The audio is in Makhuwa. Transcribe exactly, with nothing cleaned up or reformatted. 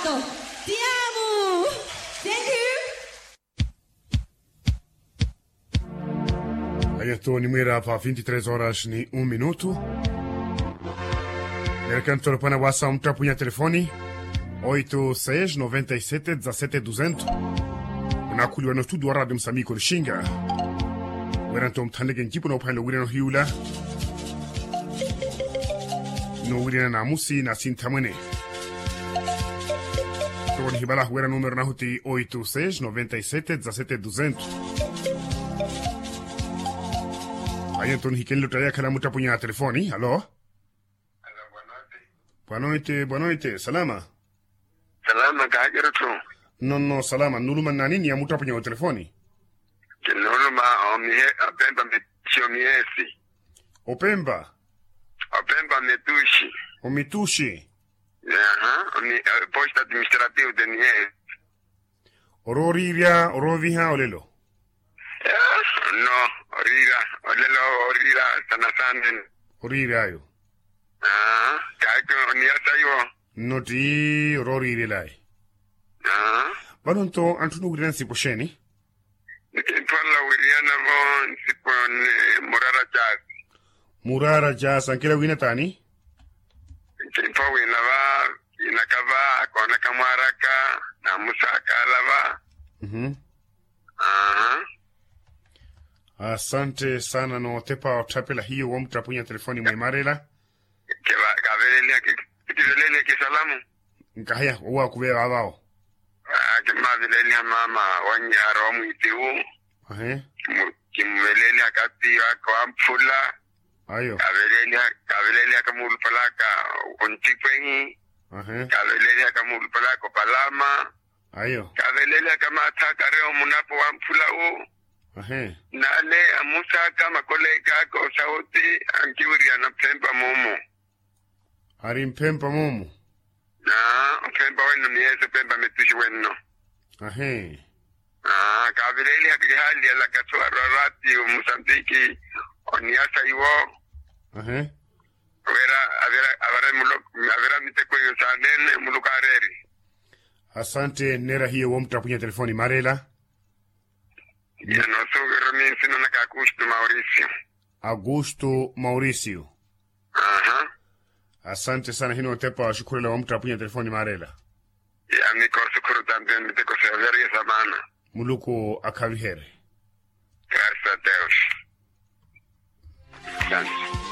Te amo. Thank you. Ayanto onimwiira pa vinti tres horas ni un minutu. Nerekanto lopwana wasa omuttapunya telefoni. Oito seis noventa e sete dezasete duzentos. Onakhuliwa no studio wa radio musamiku lixinga. Weranto omuthanleke ncipo noophanela owirana ohiyula. Nowirana namusi na sinthamwene. Toko nihivala huwera numero nahu ti oito seis noventa e sete dezasete duzentos. Ayo nto nihikenle ottaya yakhala muttapunya ya telefoni. Alo. Bwanoite bwanoite salama. Salama kahakerutthu. Nonno salama nnuluma nnani ni ya muttapunya wa telefoni? Kinnuluma omihe opempa mitushi omihesi. Opempa. Opempa mitushi. Omitushi. Aha. Posta administrativo de mihesi. Orooriirya orooviha olelo? No. Oriira olelo. Oriira sana sana. Oriiryayo. Kaaki oniyasa iwo. Nno tti orooriiryelaye. Vano nto anthu nowiirana nsipo xeeni? Nkimpholela wiiriyana-vo nsipo ni muraara caasi. Muraara caasi ankela wiina taani? Nkimpho wiina va kiinaka va koonaka mwaaraka. Namusaakaala va. Asante sana nootepa otthapela hiyo womuttapunya telefoni mwimarela. Kaaveleliha kisalamu. Nkahiya owo akuveya vaavawo. Kimmaaveleliha maama wanyu arowa mwiitiwu. Kimuveleliha katiyo aka wamphula. Kaavelelihaka muulupalaka. Onttikwehi. Kaavelelihaka muulupalaka opalama. Kaavelelihaka maathaka arewa omunapo wamphula wu. Nale amusaaka makoleeka aka osauti. Ankiwiriyana ophempa moomo. Ari mphempa moomo. Ophempa wenno ni yesu ophempa mittuxi wenno. Kaavileeliha kihaali alakasu arwarati omusantiki. Oniyasa iwo. Wira avira miteko iyo saanene muluku aareeri. Asante nneera hiyo womuttapunya telefoni mareela. Inosuvirumi nsina naka augusto mauricio. Augusto mauricio. Asante sana hino otepa oxukhurela womuttapunya telefoni mareela. Yamiko oxukhuru tampi miteko seoveriye samana. Muluku akhaviherye. Gracias a deus. Asante.